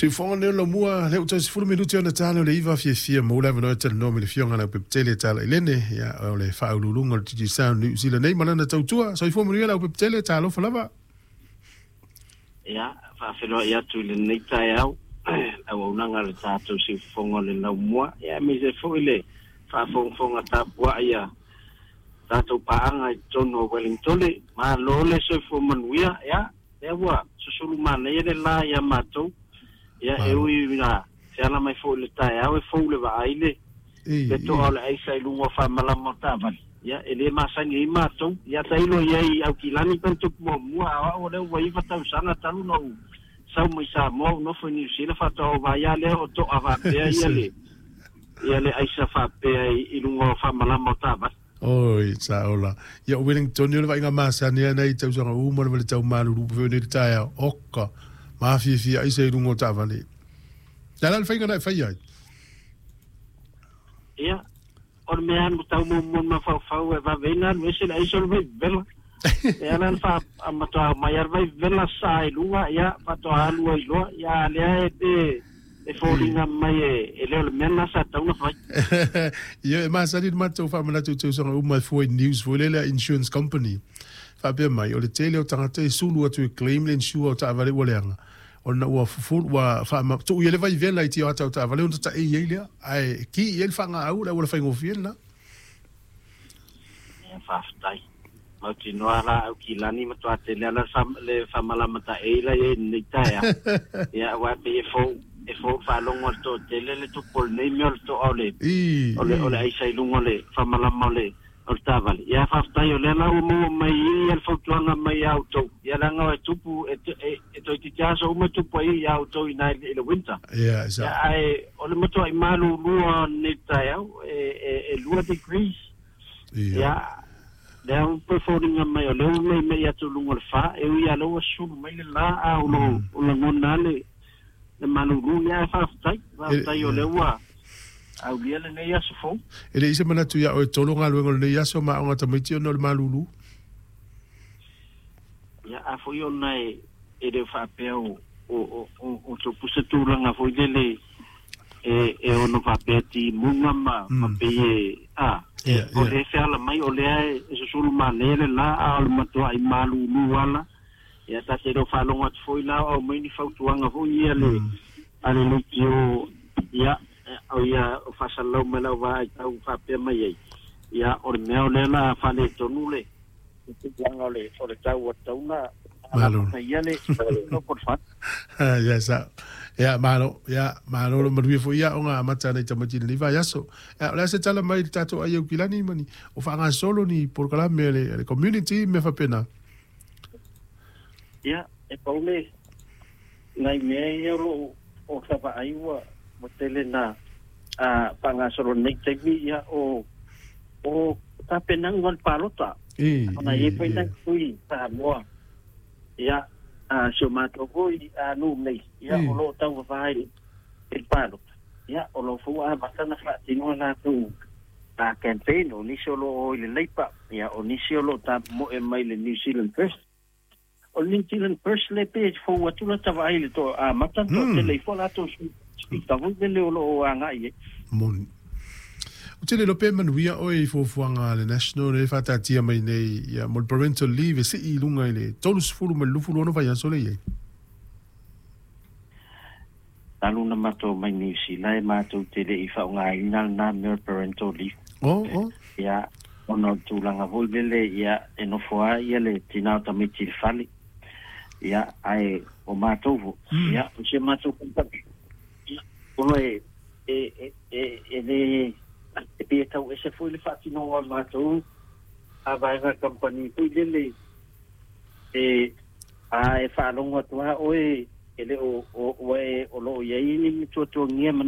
Siufoga nei o laumua lea ua toe 10 minute ona ta lea o le 9 fiafia maua le avanoa e talanoa ma le Afioga ia Leaupepetele Talailene, ia, o le faauluuluga o le Digicel New Zealand nei ma lana tautua. Soifua manuia Leaupepetele, talofa lava. Ia, faafeiloai atu i lenei taeao le auaunaga a le tatou siufofoga o le laumua, ia aemaise foi le faafogafoga tapuai a tatou paaga i totonu o Wellingtone. Malo le soifua manuia, ia, lea ua susulu manaia le la ia matou. Ia, e ui ina feala mai foi i le taeao e fou le vaai le le toa o le aisa i luga o faamalama o taavale. Ia, e le masani ai matou. Ia, tailo i ai i Aukilani pe na tupu muamua, a o au o lea ua 9 tausaga talu na ou sau mai Samoa ou nofo i Niu Sila faatoa ou vaai lava lea o toa faapea ia le ia le aisa faapea i luga o faamalama o taavale. Oi, sa ola. Ia, o Wellington, o le vaaiga masani lava nai tausaga uma lava le tau malulu pe foi nei le taeao. Oka, mafiafia aisa i luga o taavale. Le a la le faiga na e faia ai? Ia, o le mea lava tau muamua i le mafaufau e vave ai ona alu ese le aisa o le vaivela. E ala ona fa, matua aumai lava le vaivela sa i luga, ia, faatoa alu ai loa. Ia, a lea e pe e foliga mai e le o le mea lena sa tatau ona fai. Ia, e masani le matou faamanatu i tausaga uma e fua i news foi lele a insurance company. Faapea mai, o le tele o tagata e sulu atu e claim le insure o taavale ua leaga, ona ua fufulu, ua faama, tuu i ai le vaivela i tioata o taavale ona tataei ai lea, ae ki i ai le faagaau, le auala faigofie lena. Ia, faafetai. Mautinoa la au kilani matua tele ala le faamalama taei la i ai i lenei taeao. Ia, aua e pei e fou, e fou i le faalogo a le toatele le tupu o lenei mea o le toa o le, o le, o le aisa i luga o le faamalama o le, o le taavale. Ia, faafetai o lea la ua maua mai i i le fautuaga mai ia outou. Ia, leaga e tupu, e, e, e toeitiiti aso uma e tupu ai ia outou i ina i le winter. Ia, sa. Ia, ae o le matuai malulu o lenei taeao, e, e, e 2 degrees. Ia, lea ua toe foliga mai o lea ua meimei atu i luga o le fa, e ui lava o lea ua sulu mai le la, a o lo o lagona lava le, le malulu. Ia, ae faafetai, faafetai o lea ua aulia lenei aso fou. E leai se manatu ia oe tolo galuega o lenei aso ma aoga tamaiti ona o le malulu. Ia, a foi ona e, e le o faapea o, o, o, o, o tupu se tulaga foi lele e, e ono faapea timuga ma, ma pei e, a, e, o lea e feala mai, o lea e, e susulu manaia le la, a o le matuai malulu ala. Ia, ta te le o faalogo atu foi la o aumai ni fautuaga foi ia le, a le leitio, ia, o ia, o faasalalau mai lau vaai tau faapea mai ai, ia, o le mea o lea o le a faaletonu le, le tulaga o le, o le tau ua tatau ona Malo. alafataia le local fund. Ia sa. Ia malo, ia malo lo manuia foi ia aoga amata a nai tamaiti i lenei vaiaso. Ia o le a se tala mai i le tatou ai Aukilani ma ni o faagasolo ni polokalame a le, a le community mea faapena. Ia, e pau le nai mea ia o lo o ta vaai ua ua tele na a faagasolo nei taimi, ia o o tapenaga o le palota. Ona e i ai foi nai sui Samoa, ia, a si o matou foi a nuu nei, ia, o lo o tauvavā i le palota, ia, o lo o foi ua amata ona faatino a latou a campaign. O nisi o lo o i le Labour, ia, o nisi o lo o tamoe mai le New Zealand First. O le New Zealand First le pei e fou atu lata vaai i le toa amata na toatele ai foi latou speaker foi lele o lo o agai i ai. Moni. Ou te le iloa pe manuia oe i fuafuaga a le National lea e faataatia mai nei ia mo le parental leave e sii i luga i le 30 ma le 26 vaiaso lea e i ai. Talu na matou mai Niu Sila e matou te le i faaaogaina lena mea o le parental leave. Oh, oh. Ia, ona o le tulaga foi lele, ia, e nofo lava ia le tina o tamaiti i le fale. Ia, ae o matou foi, ia, o si a matou kamupani, ia, ona e, e, e, e, e le, e pei e tau ese foi le faatinoga o le matou a vaega kamupani foi lele, e, a e faalogo atu lava oe, e le o, o, ua e, o lo o i ai ni tuatuagia e manao.